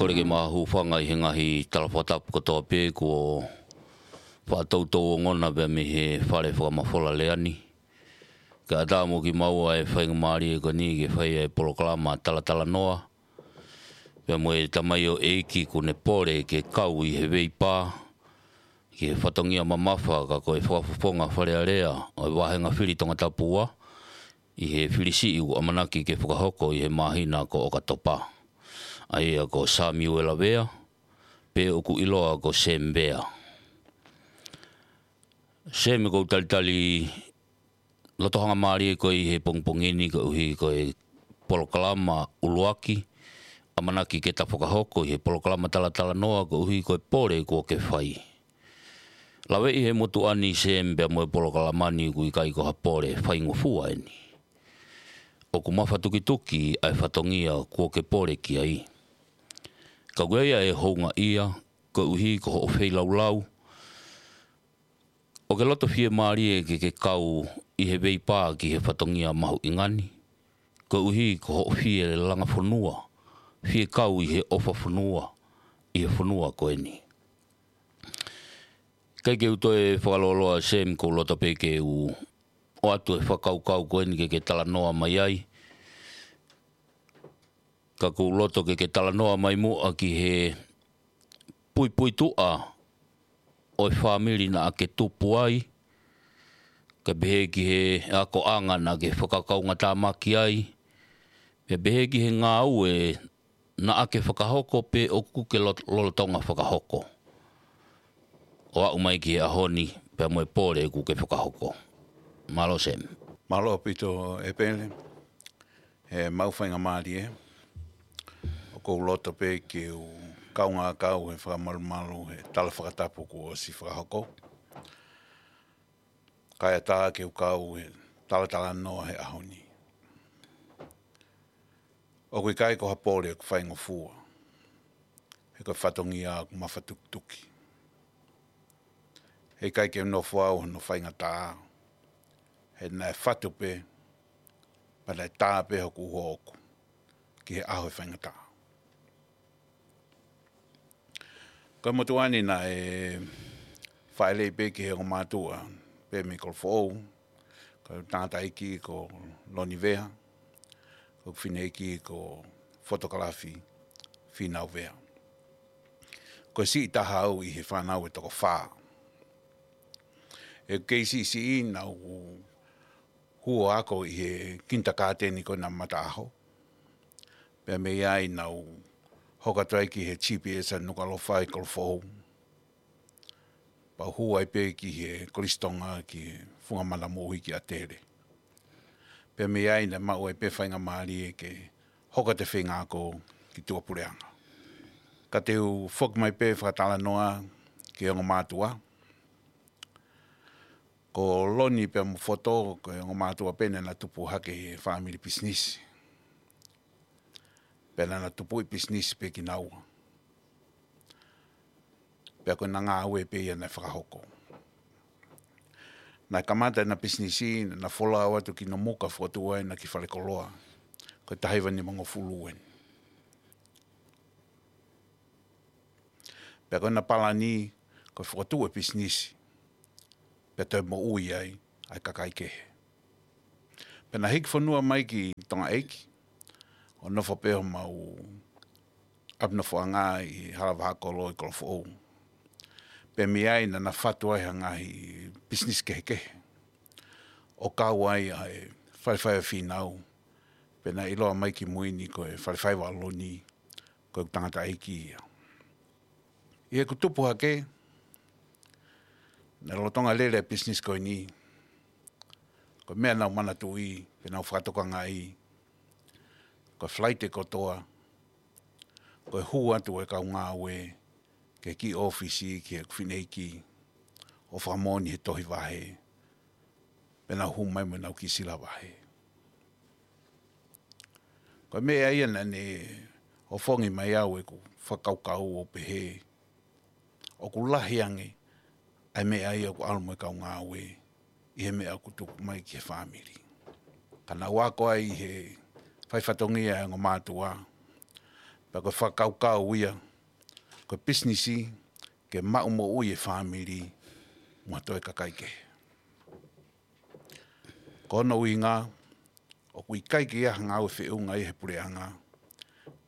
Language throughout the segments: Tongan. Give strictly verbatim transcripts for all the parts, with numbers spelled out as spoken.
Kole ke ma hūfanga ʻi he ngaahi tala fakatapu kotoa pē kuo faʻa toutou ongona pea mei he fale fakamafola lea ni. Kae ʻatā mo kimaua e faingamālie ko eni ke fai e polokalama talatalanoa. Pea mo e tamaioʻeiki kuo ne pole ke kau ʻi he veipā ki he fatongia mamafa ka ko e fakafofonga Fale Alea ʻo e vāhenga fili Tongatapu ua ʻi he fili siʻi ʻoku ʻamanaki ke fakahoko ʻi he māhina ko ʻOkatopa. ʻA ia ko Samiuela Vea, pe ʻoku ʻiloa ko Sam Vea. Sam, ʻoku ou talitali loto hangamālie koe ʻi he pongipongi ni koeʻuhi ko e polokalama ʻuluaki ʻamanaki ke ta fakahoko ʻi he polokalama talatalanoa koeʻuhi ko e pole kuo ke fai. Laveʻi he motuʻa ni, Sam, pea mo e polokalama ni, ʻoku ʻikai ko ha pole faingofua eni. ʻOku mafatukituki ʻa e fatongia kuo ke pole ki ai. Ka ʻoku ʻi ai ʻa e houngaʻia koeʻuhi ko hoʻo feilaulau ʻo ke loto fiemālie ke ke kau ʻi he veipā ki he fatongia mahuʻinga ni, koeʻuhi ko hoʻo fie langa fonua, fie kau ʻi he ʻofa fonua ʻi he fonua ko eni. ʻIkai ke u toe fakalōloa, Sam, ʻoku ou loto pē ke u ʻoatu e fakakaukau ko eni ke ke talanoa mai ai. Ka ʻoku ou loto ke ke talanoa mai muʻa ki he puipuituʻa ʻo e fāmili naʻa ke tupu ai, kae pehē ki he akoʻanga naʻa ke fakakaungātāmaki ai, pea pehē ki he ngāue naʻa ke fakahoko pe ʻoku ke lo-, lolotonga fakahoko ʻo aʻu mai ki he ʻaho ni, pea mo e pole ʻoku ke fakahoko. Mālō, Sam. Mālō ʻaupito, ʻEpele. He maʻu faingamālie, ʻoku ou loto pē ke u kaungā kau he fakamalumalu he tala fakatapu kuo ʻosi fakahoko. Kae ʻatā ke u kau he talatalanoa he ʻaho ni. ʻOku ʻikai ko ha pole ʻoku faingofua, he ko e fatongia ʻoku mafatukituki. He ʻikai ke u nofo au hono faingataʻa, he naʻe fatu pē, pea naʻe tā pē hoku uho ʻoʻoku ki he ʻaho e faingataʻa. Ko e motuʻa ni naʻe fāʻeleʻi pē ki he ongo mātuʻa pē mei Kolofoʻou, ko e tangataʻeiki ko Loni Vea, ko e fineʻeiki ko Fotokalafi Fīnau Vea. Ko e siʻi taha au ʻi he fānau ʻe toko fā. ʻI heʻeku kei siʻisiʻi naʻá ku hū ʻo ako ʻi he kinitakāteni ko ena Mataʻaho. Pea mei ai naʻá ku hoko atu ai ki he G P S ʻa Nukuʻalofa ʻi Kolofoʻou. Pea u hū ai pē ki he Kolisi Tonga ki he Funga Mana Moʻui ki ʻAtele. Pea mei ai naʻe maʻu ai pē faingamālie ke hoko atu e feinga ako ki tuʻapuleʻanga. Ka te u foki mai pē fakatalanoa ki he ongo mātuʻa. Ko Loni pea mo Foto, ko e ongo mātuʻa pē naʻá na tupu hake he fāmili pisinisi. Pea naʻá na tupuʻi pisinisi pē kinaua. Pea ko ʻena ngāue pē ia naʻe fakahoko. Naʻe kamata ʻena pisinisi, naʻá na folau atu ki Nomuka, fokotuʻu ai ʻena kiʻi falekoloa. Ko e taha hiva nimangofulu eni. Pea ko ʻena palani, ko e fokotuʻu e pisinisi, pea toe moʻui ai ʻa e kakai kehe. Pea na hiki fonua mai ki Tongaʻeiki, ʻo nofo pē homau ʻapi nofoʻanga ʻi Halavahakolo ʻi Kolofoʻou. Pea mei ai naʻá na fatu ai ha ngaahi pisinisi kehekehe, ʻo kau ai ʻa e Falefai ʻo Fīnau, pea naʻe ʻiloa mai kimui ni ko e Falefai ʻa Loni, ko e tangataʻeiki ia. ʻI heʻeku tupu hake, naʻe lolotonga lele e pisinisi ko eni, ko e meʻa naʻá ku manatuʻi, pea naʻá ku fakatokangaʻi, ko e Falaite kotoa, ko e hū atu e kau ngāue ki he kiʻi ʻōfisi, ki heʻeku fineʻeiki, ʻo fakamoʻoni he tohi vahe, pea nau hū mai mo ʻenau kiʻi sila vahe. Ko e meʻa ia naʻá ne ʻofongi mai au ʻeku fakakaukau ʻo pehē, ʻoku lahi ange ʻa e meʻa ia ʻoku ʻalu mo e kau ngāue ʻi he meʻa ʻoku tuku mai ki he fāmili. Ka naʻá ku ako ai ʻi he fai fatongia ʻa e ongo mātuʻa, Pea ko e fakakaukau ia, ko e pisinisi ke maʻu moʻui e fāmili mo ha toe kakai kehe. Ko hono ʻuhinga, ʻoku ʻikai ke ʻi ai ha ngāue feʻunga ia he puleʻanga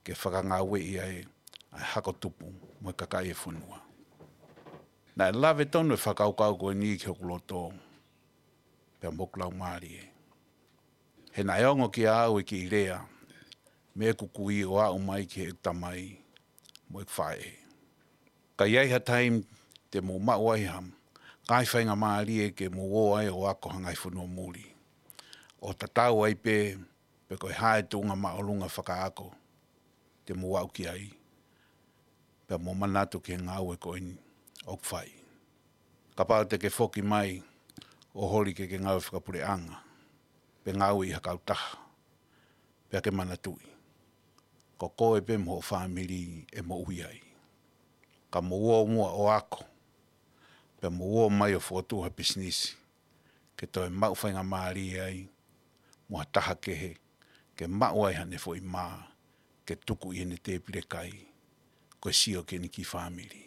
ke fakangāueʻi ai ʻa e hako tupu mo e kakai e fonua. Naʻe lave tonu e fakakaukau ko eni ki hoku loto pea mo hoku laumālie. He naʻe ongo kiate au e kiʻi lea mei heʻeku kui ʻo aʻu mai ki heʻeku tamai mo ʻeku faʻē. Ka ʻi ai ha taimi te mou maʻu ai ha ngaahi faingamālie ke mou ō ai ʻo ako ha ngaahi fonua muli, ʻo tatau ai pē pe ko e hā e tuʻunga māʻolunga fakaako te mou aʻu ki ai, pea mou manatu ki he ngāue ko eni ʻoku fai. Kapau te ke foki mai ʻo holi ke ke ngāue fakapuleʻanga, pe ngāue ʻi ha kautaha, pea ke manatuʻi, ko koe pē mo hoʻo fāmili ʻe moʻui ai. Ka mou ō muʻa ʻo ako, pea mou ō mai ʻo fokotuʻu ha pisinisi ke toe maʻu faingamālie ai mo ha taha kehe, ke maʻu ai haʻane foʻi mā ke tuku ʻi heʻene tēpile kai, ko e sio ki heʻene kiʻi fāmili.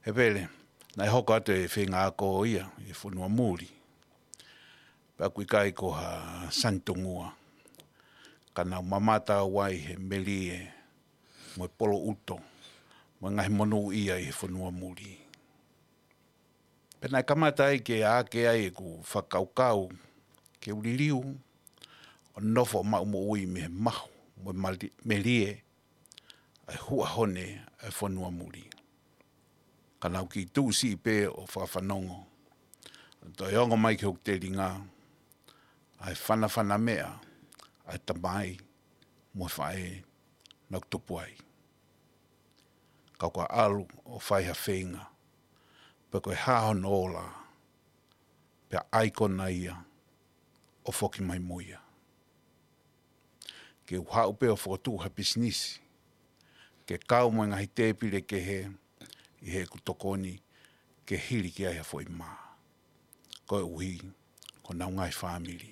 He pele, naʻe hoko atu e feinga ako ia ʻi he fonua muli, pea ʻoku ʻikai ko ha sanitungua, ka naʻá ku mamata au ai he melie mo e poloʻuto mo e ngaahi monūʻia ʻi he fonua muli. Pea naʻe kamata ai ke ake ai ʻeku fakakaukau ke u liliu ʻo nofo maʻu moʻui mei he mahu mo e mali-, melie ʻa e huʻa hone ʻa e fonua muli. Ka naʻá ku kiʻi tuʻu siʻi pē ʻo fakafanongo, toe ongo mai ki hoku telinga ʻa e fanafana meʻa ʻa e tamai mo e faʻē naʻá ku tupu ai. Ka ʻoku ou ʻalu ʻo fai ha feinga, pe ko e hā hono ola, pea ʻai kona ia ʻo foki mai mo ia. Ke u haʻu pē ʻo fokotuʻu ha pisinisi ke kau mo e ngaahi tēpile kehe ʻi heʻeku tokoni ke hili ki ai ha foʻi mā, koeʻuhi ko honau ngaahi fāmili.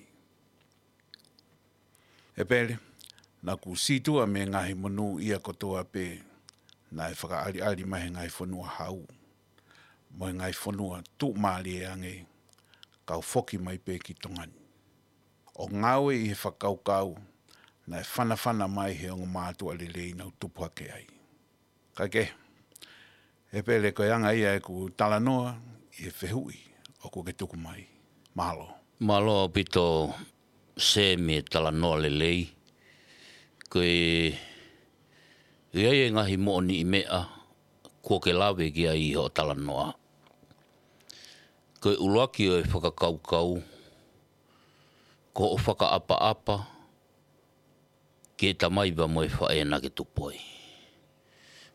He pele, naʻá ku sītuʻa mei he ngaahi monūʻia kotoa pē naʻe fakaʻaliʻali mai he ngaahi fonua hau mo e ngaahi fonua tuʻumālie ange, kau foki mai pē ki Tonga ni ʻo ngāue ʻi he fakakaukau naʻe fanafana mai he ongo mātuʻa lelei naʻá ku tupu hake ai. Kae kehe, he pele, ko e anga ia ʻeku talanoa ʻi he fehuʻi ʻoku ke tuku mai. Mālō. Mālō ʻaupito Semi e talanoa lelei. Ko e, ʻi ai e ngaahi moʻoniʻi meʻa kuo ke lave ki ai ʻi hoʻo talanoa. Ko e ʻuluaki ʻo e fakakaukau, ko hoʻo fakaʻapaʻapa ki he tamai pea mo e faʻē naʻá ke tupu ai.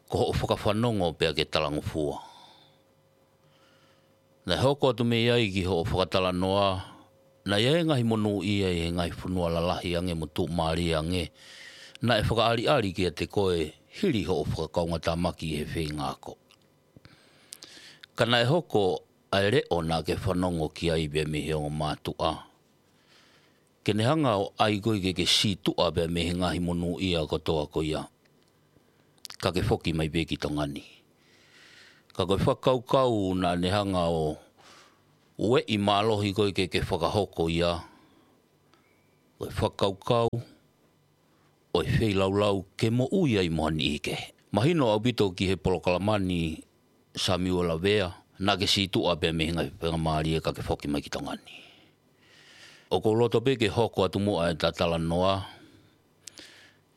Ko hoʻo fakafanongo pea ke talangofua. Naʻe hoko atu mei ai ki hoʻo fakatalanoa, naʻe ʻi ai e ngaahi monūʻia ʻi he ngaahi fonua lalahi ange mo tuʻumālie ange naʻe fakaʻaliʻali kiate koe hili hoʻo fakakaungatāmaki ʻi he feinga ako. Ka naʻe hoko ʻa e leʻo naʻá ke fanongo ki ai pea mei he ongo mātuʻa, ke ne hanga ʻo ʻai koe ke ke sītuʻa pea mei he ngaahi monūʻia kotoa ko ia, ka ke foki mai pē ki Tonga ni. Ka ko e fakakaukau naʻá ne hanga ʻo ueʻi mālohi koe ke ke fakahoko ia, ko e fakakaukau ʻo e feilaulau ke moʻui ai mo ha niʻihi kehe. Mahino ʻaupito ki he polokalama ni, Samiuela Vea, naʻá ke sītuʻa pea mei he ngaahi faingamālie ka ke foki mai ki Tonga ni. ʻOku ou loto pē ke hoko atu muʻa ʻeta talanoa.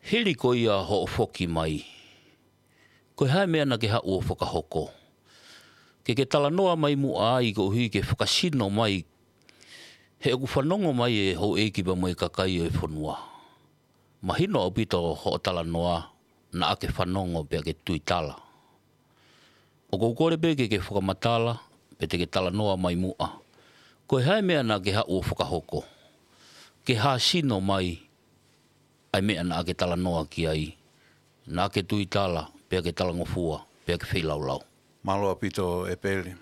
Hili ko ia hoʻo foki mai, ko e hā e meʻa naʻá ke haʻu ʻo fakahoko? Ke ke talanoa mai muʻa ai koeʻuhi ke fakasino mai, he ʻoku fanongo mai e houʻeiki pea mo e kakai ʻo e fonua. Mahino ʻaupito hoʻo talanoa naʻá ke fanongo pea ke tuitala. ʻOku ou kole pē ke ke fakamatala, pe te ke talanoa mai muʻa, ko e hā e meʻa naʻá ke haʻu ʻo fakahoko, ke hāsino mai ʻa e meʻa naʻá ke talanoa ki ai, naʻá ke tuitala, pea ke talangofua, pea ke feilaulau. Mālō ʻaupito, ʻEpeli.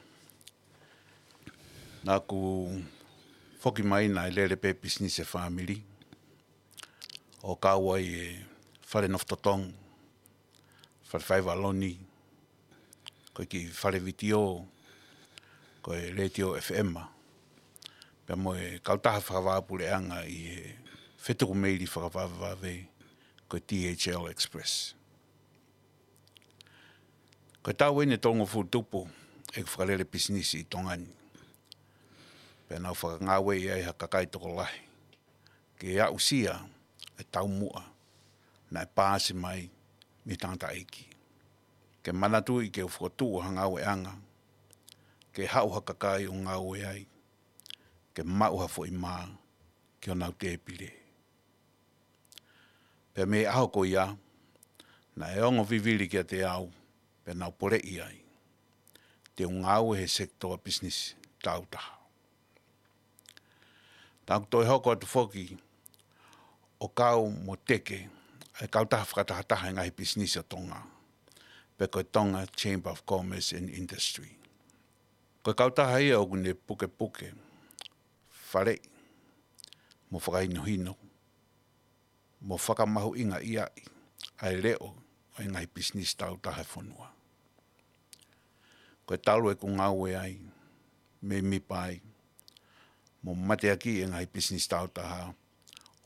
Naʻá ku foki mai naʻe lele pē pisinisi e fāmili, ʻo kau ai e fale nofo totongi, fale faiva loni, ko e kiʻi fale vitiō, ko e letiō F M, pea mo e kautaha fakavāpuleʻanga ʻi he fetuku meili fakavavevave, ko e D H L Express. Ko e taʻu eni ʻe tolungofulu tupu ʻeku fakalele pisinisi ʻi Tonga ni. Pea naʻa ku fakangāueʻi ai ha kakai tokolahi ke aʻusia e taumuʻa naʻe paasi mai mei he tangataʻeiki. Ke manatuʻi ke u fokotuʻu ha ngāueʻanga, ke haʻu ha kakai ʻo ngāue ai, ke maʻu ha foʻi mā ki honau tēpile. Pea mei he ʻaho ko ia, naʻe ongo vivili kiate au, pea naʻa ku poleʻi ai te u ngāue he sekitoa pisinisi tāutaha. Naʻa ku toe hoko atu foki ʻo kau mo teke ʻa e kautaha fakatahataha e ngaahi pisinisi ʻo Tonga, pe ko e Tonga Chamber of Commerce and Industry. Ko e kautaha ia ʻoku ne pukepuke, faleʻi, mo fakahinohino, mo fakamahuʻingaʻi ʻa e leʻo ʻo e ngaahi pisinisi tāutaha e fonua. Ko e talu ʻeku ngāue ai, mēmipa ai, mo mateakiʻi e ngaahi pisinisi tāutaha,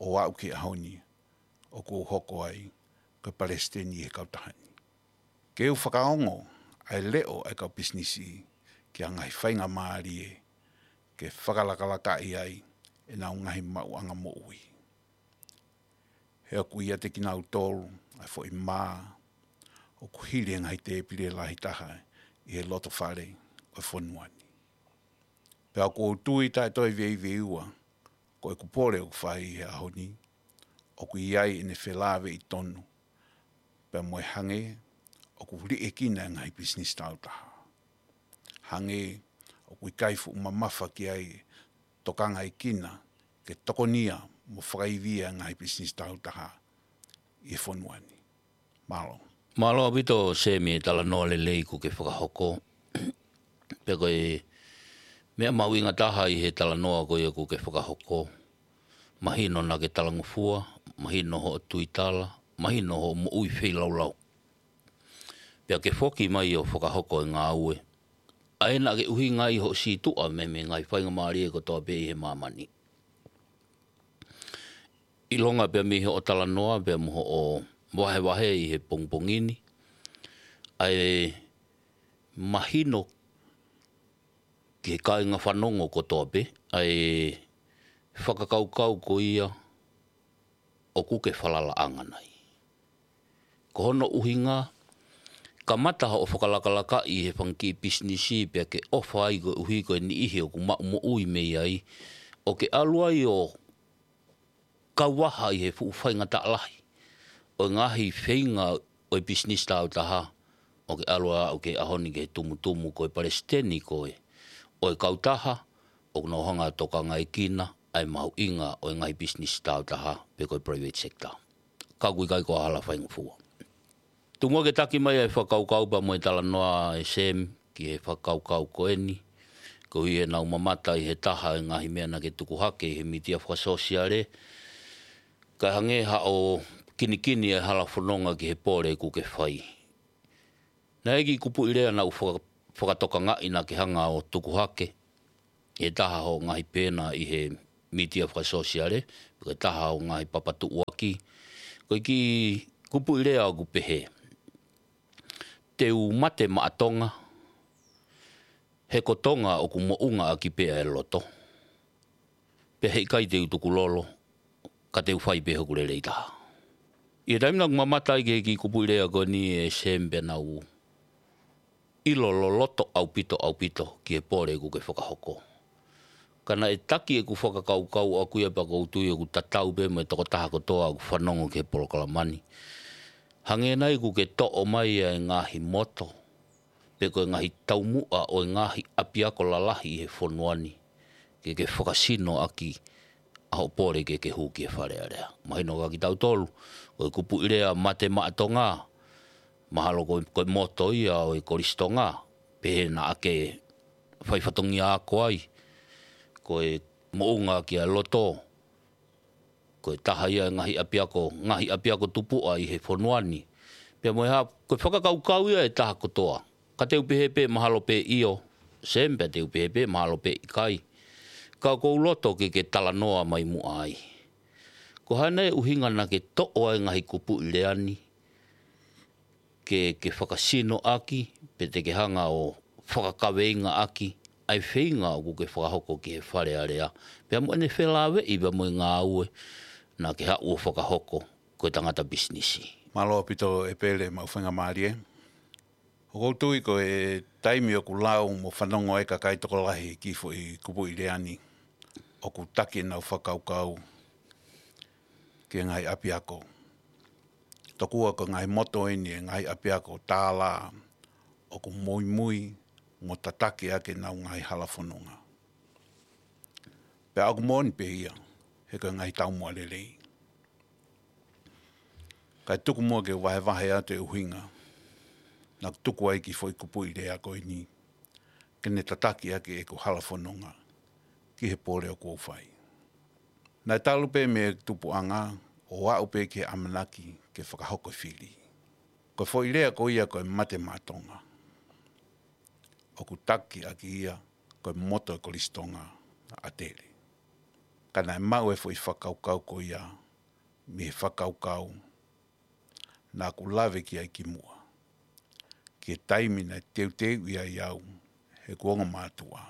ʻo aʻu ki he ʻaho ni, ʻoku ou hoko ai ko e palesiteni ʻi he kautaha ni. Ke u fakaongo ʻa e leʻo ʻa e kau pisinisi ki ha ngaahi faingamālie ke fakalakalakaʻi ai ʻenau ngaahi maʻuʻanga moʻui. He ʻoku ʻiate kinautolu ʻa e foʻi mā ʻoku hili e ngaahi tēpile lahi taha ʻi he loto fale ʻo e fonua ni. Pea ʻoku ou tui taʻe toe veiveiua, ko ʻeku pole ʻoku fai he ʻaho ni, ʻoku ʻi ai ʻene felāveʻi tonu, pea mo e hangē ʻoku liʻekina e ngaahi pisinisi tāutaha. Hangē ʻoku ʻikai fuʻu mamafa ki ai tokangaekina ke tokonia mo fakaivia e ngaahi pisinisi tāutaha ʻi he fonua ni. Mālō. Mālō ʻaupito Semi e talanoa lelei kuo ke fakahoko. Pea ko e meʻa mahuʻinga taha ʻi he talanoa ko ia kuo ke fakahoko. Mahino naʻa ke talangofua, mahino hoʻo tuitala, mahino hoʻo moʻui feilaulau. Pea ke foki mai ʻo fakahoko e ngāue. ʻA ē naʻa ke ʻuhinga ai hoʻo sītuʻa mei he ngaahi faingamālie kotoa pē ʻi he māmani. ʻIlonga pea mei hoʻo talanoa pea mo hoʻo vahevahe ʻi he pongipongi ni, ʻa e mahino ki he kāinga fanongo kotoa pē ʻa e fakakaukau ko ia ʻoku ke falalaʻanga nai. Ko hono ʻuhinga, kamata hoʻo fakalakalakaʻi he fanga kiʻi pisinisi pea ke ʻofa ai koeʻuhi ko e niʻihi ʻoku maʻu moʻui mei ai, ʻo ke ʻalu ai ʻo kauvaha ʻi he fuʻu faingataʻa lahi ʻo e ngaahi feinga ʻo e pisinisi tāutaha, ʻo ke ʻalu ʻo aʻu ki he ʻaho ni ki he tumutumu ko e palesiteni koe ʻo e kautaha ʻoku nau hanga ʻo tokangaekina ʻa e mahuʻinga ʻo e ngaahi pisinisi tāutaha pe ko e private sector. Ka ʻoku ʻikai ko ha hala faingofua. Tuku muʻa ke taki mai ʻa e fakakaukau pea mo e talanoa ʻe Semi ki he fakakaukau ko eni, koeʻuhi ʻenau mamata ʻi he taha e ngaahi meʻa naʻa ke tuku hake ʻi he mītia fakasōsiale, kae hangē haʻo kinikini e hala fononga ki he pole kuo ke fai. Naʻe ʻi ai e kiʻi kupuʻi lea naʻa ku faka-, fakatokangaʻi naʻa ke hanga ʻo tuku hake ʻi he taha hoʻo ngaahi pēna ʻi he mītia fakasōsiale, pe ko e taha hoʻo ngaahi papatuʻuaki. Ko e kiʻi kupuʻi lea ʻoku pehē: Te u mate maʻa Tonga, he ko Tonga ʻoku moʻunga ʻaki pē ʻa e loto. Pea heʻikai te u tukulolo, ka te u fai pē hoku lelei taha. ʻI he taimi naʻa ku mamata ai ki he kiʻi kupuʻi lea ko eni ʻe Semi, pea naʻa ku ʻilo loloto ʻaupito, ʻaupito ki he pole kuo ke fakahoko. Ka naʻe taki ʻeku fakakaukau ʻaʻaku ia pea ʻoku ou tui ʻoku tatau pē mo e tokotaha kotoa ʻoku fanongo ki he polokalama ni. Hangē nai kuo ke toʻo mai ʻa e ngaahi moto, pe ko e ngaahi taumuʻa ʻo e ngaahi ʻapiako lalahi ʻi he fonua ni, ke ke fakasino ʻaki ʻa hoʻo pole ke ke hū ki he Fale Alea. Mahino kia kitautolu, ko e kupuʻi lea mate maʻa Tonga, mahalo ko, ko e moto ia ʻo e Kolisi Tonga, pehē naʻa ke fai fatongia ako ai, ko e moʻunga ʻaki ʻa e loto, ko e taha ia e ngaahi ʻapiako, ngaahi ʻapiako tupuʻa ʻi he fonua ni, Pea mo e hā, ko e fakakaukau ia ʻe taha kotoa. Ka te u pehē pē mahalo pē ʻio, Sam, pea te u pehē pē mahalo pē ʻikai. Ka ʻoku ou loto ke ke talanoa mai muʻa ai. Ko e hā nai e ʻuhinga naʻa ke toʻo ai e ngaahi kupuʻi lea ni, ke, ke fakasino ʻaki, pe te ke hanga ʻo fakakaveinga ʻaki, ʻa e feinga ʻoku ke fakahoko ki he Fale Alea, pea mo ʻene felāveʻi pea mo e ngāue naʻa ke haʻu ʻo fakahoko ko e tangata pisinisi. Mālō ʻaupito ʻEpele, maʻu faingamālie. ʻOku ou tui ko e taimi ʻoku lau mo fanongo ai e kakai tokolahi ki he foʻi kupuʻi lea ni, ʻoku taki ʻenau fakakaukau ki he ngaahi ʻapiako. Tokua ko e ngaahi moto eni ʻa e ngaahi ʻapiako tālā ʻoku muimui mo tataki ʻaki ʻenau ngaahi hala fononga. Pea ʻoku moʻoni pē ia, he ko e ngaahi taumuʻa lelei. Kae tuku muʻa ke u vahevahe atu e ʻuhinga naʻa ku tuku ai e kiʻi foʻi kupuʻi lea ko eni, ke ne tataki ʻaki ʻeku hala fononga ki he pole ʻoku ou fai. Naʻe talu pē mei he tupuʻanga ʻo aʻu pē ki he ʻamanaki ke fakahoko e fili. Ko e foʻi lea ko ia ko e mate maʻa Tonga, ʻoku taki ʻaki ia ko e moto ʻo e Kolisi Tonga ʻa ʻAtele. Ka naʻe maʻu e foʻi fakakaukau ko ia mei he fakakaukau naʻa ku lave ki ai kimuʻa, ki he taimi naʻe teuteuʻi ai au ʻe heʻeku ongo mātuʻa.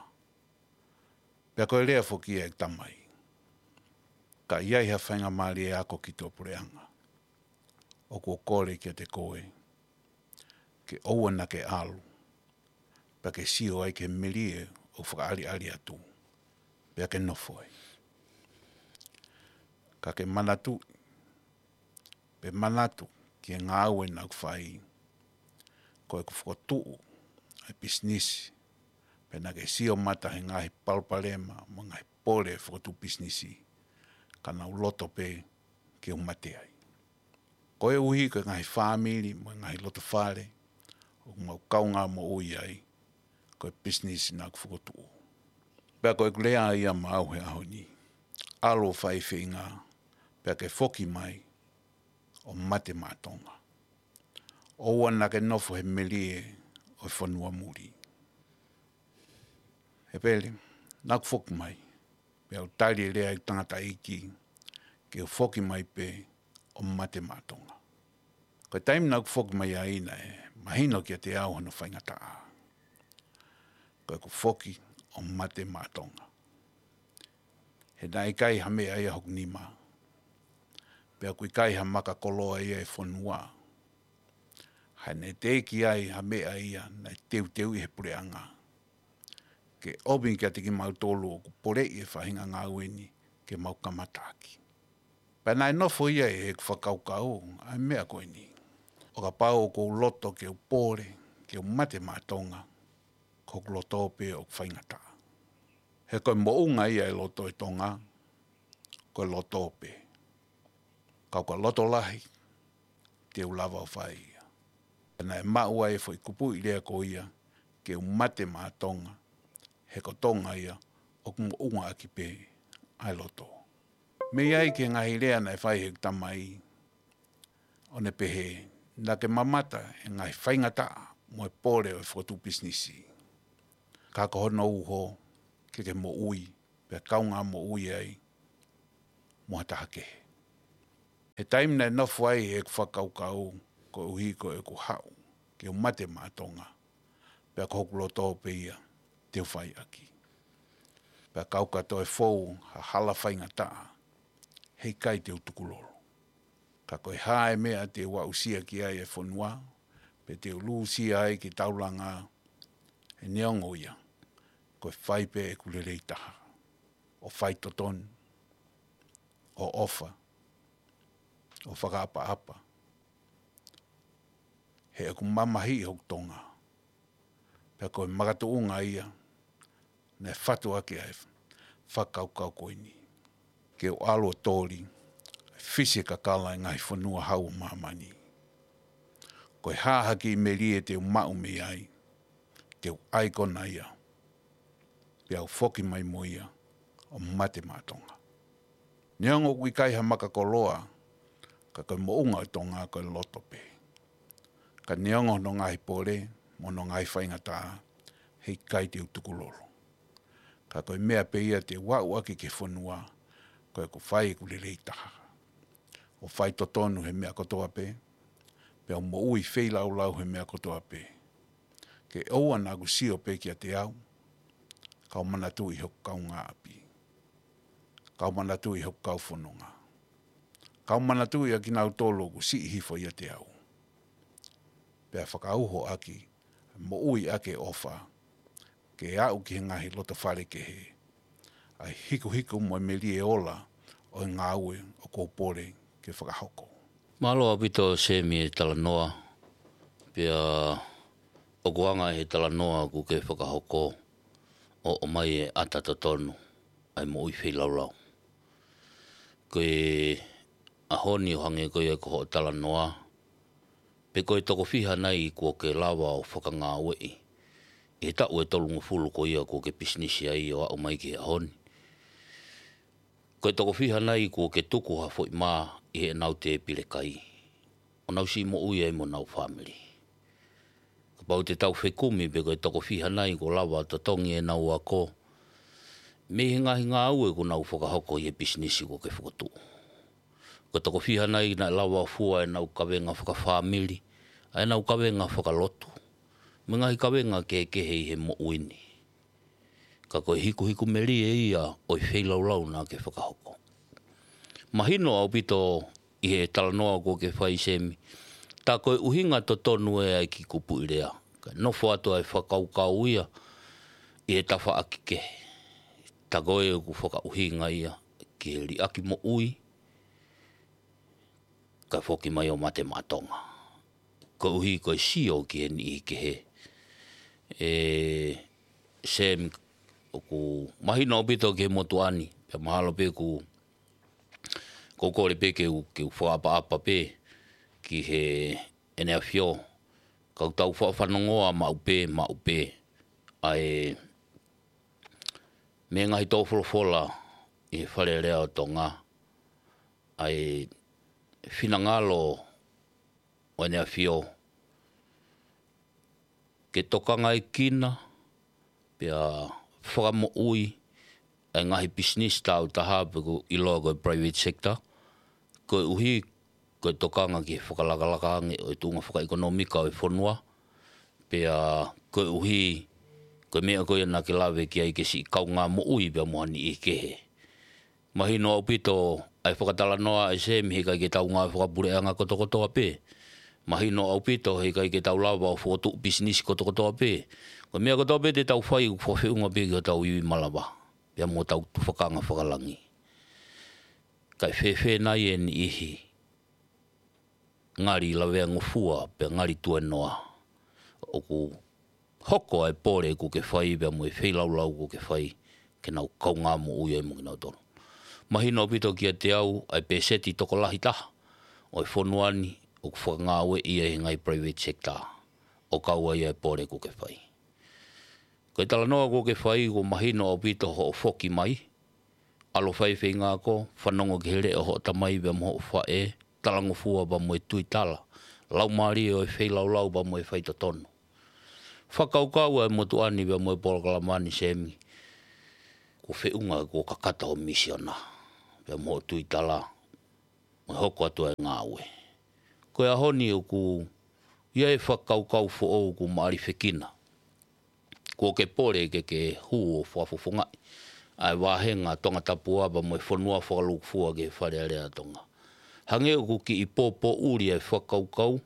Pea ko e lea foki ia ʻeku tamai: Ka ʻi ai ha faingamālie ako ki tuʻapuleʻanga, ʻoku ou kole kiate koe ke ʻoua naʻa ke ʻalu, pea ke sio ai ki he melie ʻoku fakaʻaliʻali atu, pea ke nofo ai. Ka ke manatuʻi, pe manatu ki he ngāue naʻa ku fai, ko ʻeku fokotuʻu ʻa e pisinisi, pea naʻa ke sio mata he ngaahi palopalema mo e ngaahi pole fokotuʻu pisinisi, ka naʻa ku loto pē ke u mate ai. Koeʻuhi ko e ngaahi fāmili mo e ngaahi loto fale ʻoku mau kaungā moʻui ai, ko e pisinisi naʻa ku fokotuʻu. Pea ko ʻeku lea ia maʻau he ʻaho ni: ʻAlu ʻo fai e feinga, pea ke foki mai ʻo mate maʻa Tonga. ʻOua naʻa ke nofo he melie ʻo e fonua muli. ʻEpele, naʻa ku foki mai, pea u tali e lea ʻeku tangataʻeiki ke u foki mai pē ʻo mate maʻa Tonga. Ko e taimi naʻa ku foki mai ai naʻe mahino kiate au hono faingataʻa. Ko ʻeku foki ʻo mate maʻa Tonga. He naʻe ʻikai ha meʻa ia ʻi hoku nima. Pea ʻoku ʻikai ha maka koloa ia ʻi he fonua. He naʻe teʻeki ai ha meʻa ia naʻe teuteuʻi ʻe he puleʻanga ke ʻomi kiate kimautolu ʻoku poleʻi e faʻahinga ngāue ni ke mau kamata ʻaki. Pea naʻe nofo ia ʻi heʻeku fakakaukau ʻa e meʻa ko eni: ʻO kapau ʻoku ou loto ke u pole, ke u mate maʻa Tonga, ko hoku loto pē ʻoku faingataʻa. He ko e moʻunga ia ʻo e loto ʻo e Tonga, ko e loto pē. Ka ʻoku ou loto lahi, te u lava ʻo fai ia. Pea naʻe maʻu ai e foʻi kupuʻi lea ko ia, ke u mate maʻa Tonga, he ko Tonga ia ʻoku moʻunga ʻaki pē ʻa e loto. Mei ai ki he ngaahi lea naʻe fai ʻe heʻeku tamai, ʻo ne pehē naʻa ke mamata he ngaahi faingataʻa mo e pole ʻo e fokotuʻu pisinisi, ka ko hono uho ke ke moʻui, pea kaungā moʻui ai mo ha taha kehe. He taimi naʻe nofo ai ʻeku fakakaukau, koeʻuhi ko ʻeku haʻu ke u mate maʻa Tonga, pea ko hoku loto pē ia te u fai ʻaki. Pea kapau ka toe fou ha hala faingataʻa, heʻikai te u tukulolo. Ka ko e hā e meʻa te u aʻusia ki ai e fonua, pe te u lūsia ai ki taulanga, he neongo ia, ko e fai pē ʻeku lelei taha, ʻo faitotonu, ʻo ʻofa, ʻo fakaʻapaʻapa, he ʻoku mamahiʻi hoku Tonga. Pea ko e makatuʻunga ia naʻe fatu ʻaki ʻa e fakakaukau ko eni, ke u ʻalu ʻo toli, fisi e kakala ʻi he ngaahi fonua hau ʻo māmani. Ko e hā ha kiʻi melie te u maʻu mei ai, te u ʻai kona ia, pea u foki mai mo ia ʻo mate maʻa Tonga. Neongo ʻoku ʻikai ha maka koloa, ka ko e moʻunga ʻo Tonga ko e loto pē. Ka neongo hono ngaahi pole mo hono ngaahi faingataʻa, heʻikai te u tukulolo. Ka ko e meʻa pē ia te u aʻu ʻaki ki he fonua, ko ʻeku fai ʻeku lelei taha, ʻo fai totonu he meʻa kotoa pē, pea u moʻui feilaulau he meʻa kotoa pē. Ke ʻoua naʻa ku sio pē kiate au, ka u manatuʻi hoku kaungāʻapi, ka u manatuʻi hoku kau fononga, ka u manatuʻi ʻa kinautolu ʻoku siʻi hifo ʻiate au. Pea fakauho ʻaki, moʻui ʻaki e ʻofa, ke aʻu ki he ngaahi loto fale kehe, ʻa e hikuhiku mo e melie ola ʻo e ngāue ʻoku ou pole ke fakahoko. Mālō ʻaupito Semi e talanoa, pea ʻoku anga he talanoa ʻoku ke fakahoko ʻo ʻomai e ʻata totonu ʻa e moʻui feilaulau. Ko e ʻaho ni ʻo hangē ko ia ko hoʻo talanoa, pe ko e toko fiha nai kuo ke lava ʻo fakangāueʻi ʻi he taʻu ʻe tolungofulu ko ia kuo ke pisinisi ai ʻo aʻu mai ki he ʻaho ni? Ko e toko fiha nai kuo ke tuku ha foʻi mā ʻi heʻenau tēpile kai, ʻo nau siʻi moʻui ai mo honau fāmili? Kapau te tau fekumi pe ko e toko fiha nai kuo lava ʻo totongi ʻenau ako mei he ngaahi ngāue kuo nau fakahoko ʻi he pisinisi kuo ke fokotuʻu? Ko e toko fiha nai naʻe lava ʻo fua ʻenau kavenga fakafāmili, ʻa ʻenau kavenga fakalotu, mo e ngaahi kavenga kehekehe ʻi he moʻui ni? Ka ko e hikuhiku melie ia ʻo e feilaulau naʻa ke fakahoko. Mahino ʻaupito ʻi he talanoa kuo ke fai Semi, tā ko e ʻuhinga totonu ē ʻa e kiʻi kupuʻi lea, kae nofo atu ʻa e fakakaukau ia ʻi he tafaʻaki kehe. Tā ko ē ʻoku fakaʻuhinga ia ki he liʻaki moʻui, kae foki mai ʻo mate maʻa Tonga. Koeʻuhi ko e sio ki he niʻihi kehe. E, Semi, ʻoku mahino ʻaupito ki he motuʻa ni, pea mahalo pē ʻoku, ʻoku ou kole pē ke u, ke u fakaʻapaʻapa pē ki he ʻEne ʻAfio, ka u tau faʻa fanongoa maʻu pē, maʻu pē ʻa e mei he ngaahi tō folofola ʻi he Fale Alea ʻo Tonga, ʻa e finangalo ʻo ʻEne ʻAfio ke tokangaekina pea fakamoʻui ʻa e ngaahi pisinisi tāutaha pe ʻoku ʻiloa ko e private sector, koeʻuhi ko e tokanga ki he fakalakalaka ange ʻo e tuʻunga fakaʻekonōmika ʻo e fonua, pea koeʻuhi ko e meʻa ko ia naʻa ke lave ki ai ke siʻi kaungā moʻui pea mo ha niʻihi kehe. Mahino ʻaupito ʻa e fakatalanoa ʻa e Semi, heʻikai ke tau ngāue fakapuleʻanga kotokotoa pē. Mahino ʻaupito heʻikai ke tau lava ʻo fokotuʻu pisinisi kotokotoa pē. Ko e meʻa kotoa pē te tau fai ʻoku fakafeʻunga pē ki hotau ivi malava pea mo hotau tufakanga fakalangi. Kae fēfē nai e niʻihi ngali laveangofua pea ngali tuenoa ʻoku hoko ʻa e pole ʻoku ke fai pea mo e feilaulau ʻoku ke fai ke nau kaungā moʻui ai mo kinautolu? Mahino ʻaupito kiate au ʻa e pēseti tokolahi taha ʻo e fonua ni ʻoku fakangāueʻi ia ʻi he ngaahi private sector, ʻo kau ai ʻa e pole ʻoku ke fai. Ko e talanoa ʻoku ke fai, ʻoku mahino ʻaupito hoʻo foki mai, ʻalu ʻo fai feinga ako, fanongo ki he leʻo ʻo hoʻo tamai pea mo hoʻo faʻē, talangofua pea mo e tuitala, laumālie ʻo e feilaulau pea mo e faitotonu. Fakakaukau ʻa e motuʻa ni pea mo e polokalama ni Semi, kuo feʻunga kuo kakata hoʻo misiona pea mo hoʻo tuitala, mo e hoko atu ʻa e ngāue. Ko e ʻaho ni ʻoku ʻi ai e fakakaukau foʻou ʻoku maʻalifekina. Kuo ke pole ke ke hū ʻo fakafofongaʻi ʻa e vāhenga Tongatapu pea mo e fonua fakalūkufua ki he Fale Alea ʻo Tonga. Hangē ʻoku kiʻi pōpōʻuli ʻa e fakakaukau,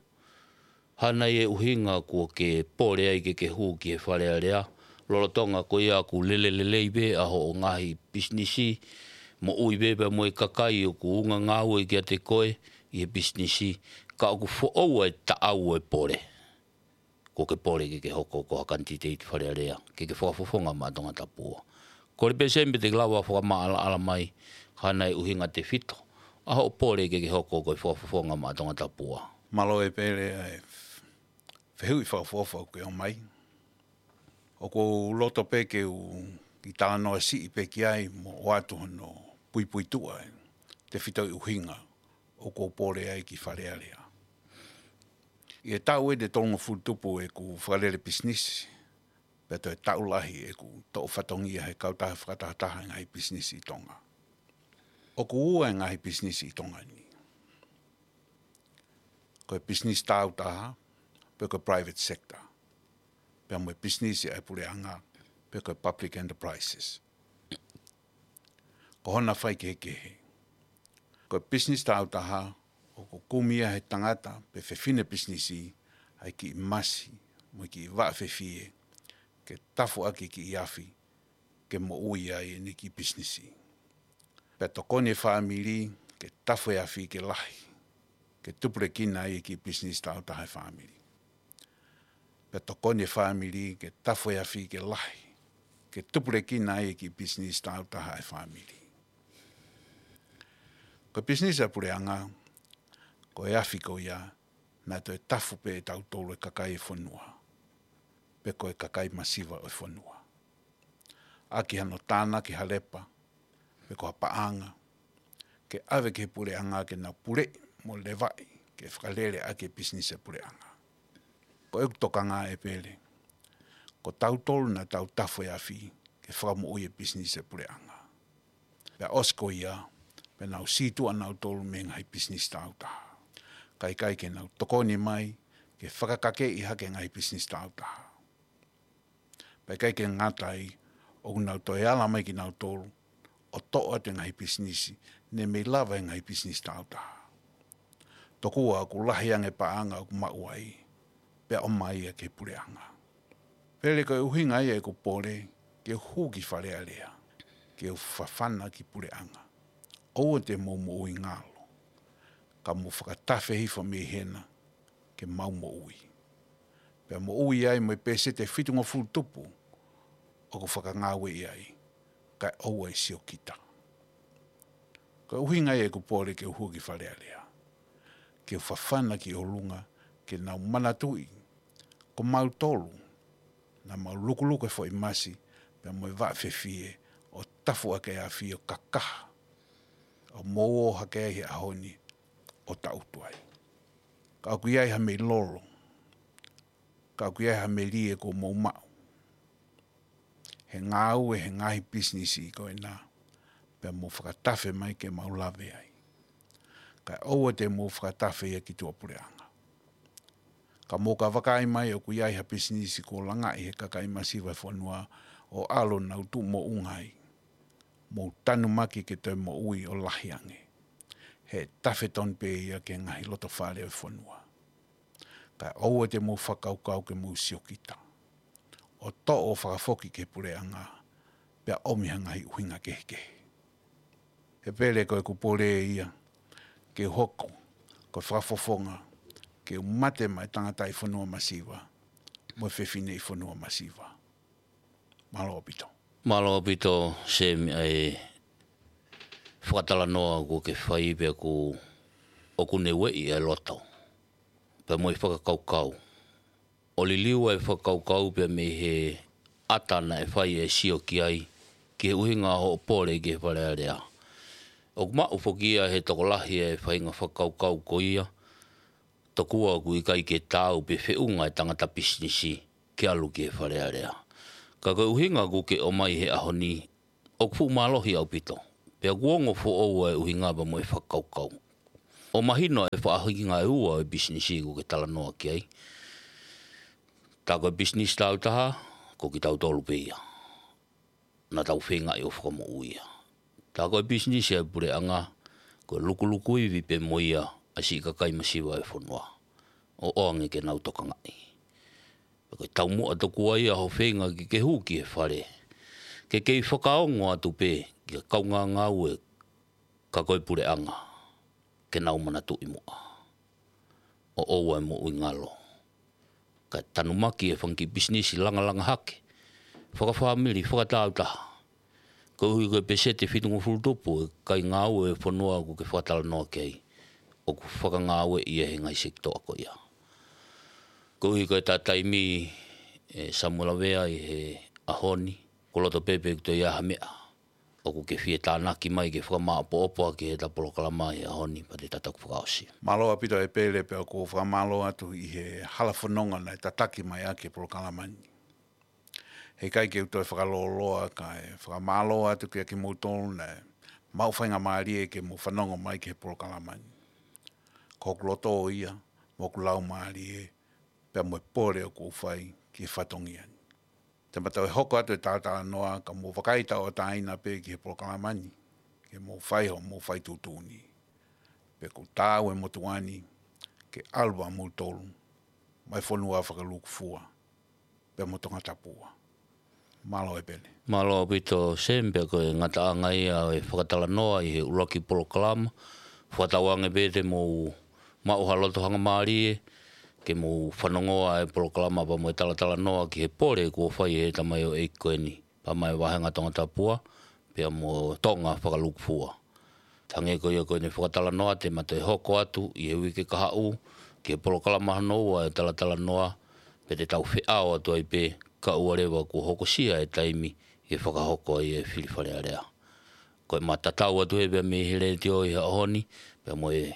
hā nai e ʻuhinga kuo ke pole ai ke ke hū ki he Fale Alea, lolotonga ko ia ʻoku lele lelei pē ʻa hoʻo ngaahi pisinisi, moʻui pē pea mo e kakai ʻoku ungangāue kiate koe ʻi he pisinisi, ka ʻoku foʻou ʻa e taʻau ʻo e pole. Kuo ke pole ke ke hoko ko ha kanititeiti Fale Alea, ke ke fakafofonga maʻa Tongatapu. Kole pē Semi pe te ke lava fakamaʻalaʻala mai, hā nai e ʻuhinga tefito ʻa hoʻo pole ke ke hoko ko e fakafofonga maʻa Tongatapu. Mālō e Pele ʻa e fehuʻi fakaʻofoʻofa ʻoku ke ʻomai. ʻOku ou loto pē ke u kiʻi talanoa siʻi pē ki ai mo ʻoatu hono puipuituʻa e tefito e ʻuhinga ʻoku ou pole ai ki Fale Alea. ʻI he taʻu ʻe tolungofulu tupu ʻeku fakalele pisinisi, pea toe taʻu lahi ʻeku toʻo fatongia he kautaha fakatahataha e ngaahi pisinisi ʻi Tonga. ʻOku ua e ngaahi pisinisi ʻi Tonga ni. Ko e pisinisi tāutaha, pe ko e private sector. Pea mo e pisinisi ʻa e puleʻanga, pe ko e public enterprises. Ko hona faikehekehe. Ko e pisinisi tāutaha, ʻoku kumi ia he tangata pe fefine pisinisi, ʻa e kiʻi masi, mo e kiʻi vaʻa fefie, ke tafu ʻaki e kiʻi afi, ke moʻui ai ʻene kiʻi pisinisi. Pea tokoni e fāmili, ke tafu e afi ke lahi, ke tupulekina ai e kiʻi pisinisi tāutaha e fāmili. Pea tokoni e fāmili, ke tafu e afi ke lahi, ke tupulekina ai e kiʻi pisinisi tāutaha e fāmili. Ko e pisinisi ʻa e puleʻanga, ko e afi ko ia, naʻe toe tafu pē ʻe tautolu e kakai e fonua. Pe ko e kakai masiva ʻo e fonua. ʻAki hano tānaki ha lepa, pe ko ha paʻanga, ke ʻave ki he puleʻanga ke nau puleʻi mo levaʻi, ke fakalele ʻaki e pisinisi e puleʻanga. Ko ʻeku tokanga ʻe Pele, ko tautolu naʻa tau tafu e afi, ke fakamoʻui e pisinisi e puleʻanga. Pea ʻosi ko ia, pea nau sītuʻa nautolu mei he ngaahi pisinisi tāutaha. Kae ʻikai ke nau tokoni mai, ke fakakakeʻi hake e ngaahi pisinisi tāutaha. Pea ʻikai ke ngata ai, ʻoku nau toe ala mai kinautolu, ʻo toʻo atu e ngaahi pisinisi, ne mei lava e ngaahi pisinisi tāutaha. Tokua ʻoku lahi ange paʻanga ʻoku maʻu ai, pea ʻomai ia ki he puleʻanga. Pele ko e ʻuhinga ia ʻeku pole, ke u hū ki Fale Alea, ke u fafana ki puleʻanga. ʻOua te mou moʻui ngalo, ka mou fakatafe hifo mei hena, ke mau moʻui. Pea moʻui ai mo e peseti ʻe fitungofulu tupu, ʻoku fakangāueʻi ai, kae ʻoua ʻe siokita. Ko e ʻuhinga ia ʻeku pole ke u hū ki Fale Alea. Ke u fafana ki ʻolunga, ke nau manatuʻi, ko mautolu, naʻa mau lukuluku e foʻi masi, pea mo e vaʻa fefie, ʻo tafu ʻaki e afi ʻo kakaha, ʻo mou ō hake ai he ʻaho ni, ʻo taʻutu ai. Ka ʻoku ʻi ai ha meʻi lolo, ka ʻoku ʻi ai ha melie kuo mou maʻu. He ngāue, he ngaahi pisinisi ko ena, pea mou fakatafe mai ke mau lave ai. Kae ʻoua te mou fakatafe ia ki tuʻapuleʻanga. Ka mou ka vakai mai ʻoku ʻi ai ha pisinisi kuo langaʻi he kakai masiva e fonua ʻo ʻalu ʻo nau tuʻu moʻunga ai. Mou tanumaki ke toe moʻui ʻo lahi ange. He tafe tonu pē ia ki he ngaahi loto fale ʻo e fonua. Kae ʻoua te mou fakakaukau ke mou siokita. ʻO toʻo ʻo fakafoki ki he puleʻanga, pea ʻomi ha ngaahi ʻuhinga kehekehe. He Pele ko ʻeku pole ia, ke u hoko, ko e fakafofonga, ke u mate maʻa e tangataʻi fonua masiva, mo e fefineʻi fonua masiva. Mālō ʻaupito. Mālō ʻaupito, Semi, ʻa e fakatalanoa kuo ke fai pea ʻoku, ʻoku ne ueʻi e loto. Pea mo e fakakaukau. ʻO liliu e fakakaukau pea mei he ʻata naʻe fai e sio ki ai, ki he ʻuhinga hoʻo pole ki he Fale Alea. ʻOku maʻu foki ia he tokolahi e faʻahinga fakakaukau ko ia, tokua ʻoku ʻikai ke taau pe feʻunga e tangata pisinisi ke ʻalu ki he Fale Alea. Ka ko e ʻuhinga ʻoku ke ʻomai he ʻaho ni, ʻoku fuʻu mālohi ʻaupito. Pea ʻoku ongo foʻou e ʻuhinga pea mo e fakakaukau. ʻO mahino e faʻahinga ʻe ua e pisinisi ʻoku ke talanoa ki ai. Tā ko e pisinisi tāutaha, ko kitautolu pē ia. Naʻa tau feingaʻi ʻo fakamoʻui ia. Tā ko e pisinisi ʻa e puleʻanga, ko e lukuluku ivi pē mo ia ʻa e siʻi kakai masiva e fonua. ʻO ʻoange ke nau tokangaʻi. Pea ko e taumuʻa tokua ia hoʻo feinga ke ke hū ki he fale. Ke kei fakaongo atu pē, ki he kaungāngāue, ka ko e puleʻanga, ke nau manatuʻi muʻa. ʻO ʻoua ʻe moʻui ngalo. Kae tanumaki e fanga kiʻi pisinisi langalanga hake. Fakafāmili, fakatāutaha. Koeʻuhi ko e peseti ʻe fitungofulu tupu e kakai ngāue e fonua ʻoku ke fakatalanoa ki ai. ʻOku fakangāueʻi ia he ngaahi sekitoa ko ia. Koeʻuhi ko e taimi ʻe Samuela Vea ʻi he ʻaho ni, ʻoku loto pē pe ʻoku toe ʻi ai ha meʻa. ʻoku ke fie tānaki mai ke fakamāʻopoʻopo ʻaki heʻeta polokalama he ʻaho ni, pea te tau toki fakaʻosi. Mālō ʻaupito ʻEpele, pea ʻoku ou fakamālō atu ʻi he hala fononga naʻe tataki mai ʻaki e polokalama ni. He ʻikai ke u toe fakalōloa kae fakamālō atu kiate kimoutolu naʻe maʻu faingamālie ke mou fanongo mai ki he polokalama ni. Ko hoku loto ia, mo hoku laumālie, pea mo e pole ʻoku ou fai ki he fatongia ni. Te ma toe hoko atu e talatalanoa, ka mou vakai tauʻatāina pē ki he polokalama ni, ke mou fai hoʻomou fai tuʻutuʻuni. Pea ʻoku taau e motuʻa ni ke ʻalu ʻa moutolu mai fonua fakalūkufua, pea mo Tongatapu. Mālō ʻEpele. Mālō ʻaupito Sam, pea ko e ngataʻanga ia e fakatalanoa ʻi he ʻuluaki polokalama. Fakatauange pē te mou maʻu ha loto hangamālie ke mou fanongoa e polokalama pea mo e talatalanoa ki he pole kuo fai ʻe he tamaioʻeiki ko eni, pea mo e vāhenga Tongatapu, pea mo Tonga fakalūkufua. Hangē ko ia ko ʻene fakatalanoa, te ma toe hoko atu ʻi he uike kahaʻu ki he polokalama hono ua e talatalanoa, pea te tau feʻao atu ai pē, kae ʻoua leva kuo hokosia e taimi ke fakahoko ai e fili Fale Alea. Ko ʻema tatau atu ē pea mei he letiō ʻi he ʻaho ni, pea mo e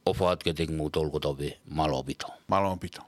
ʻofa atu kiate kimoutolu kotoa pē. Mālō ʻaupito. Mālō ʻaupito.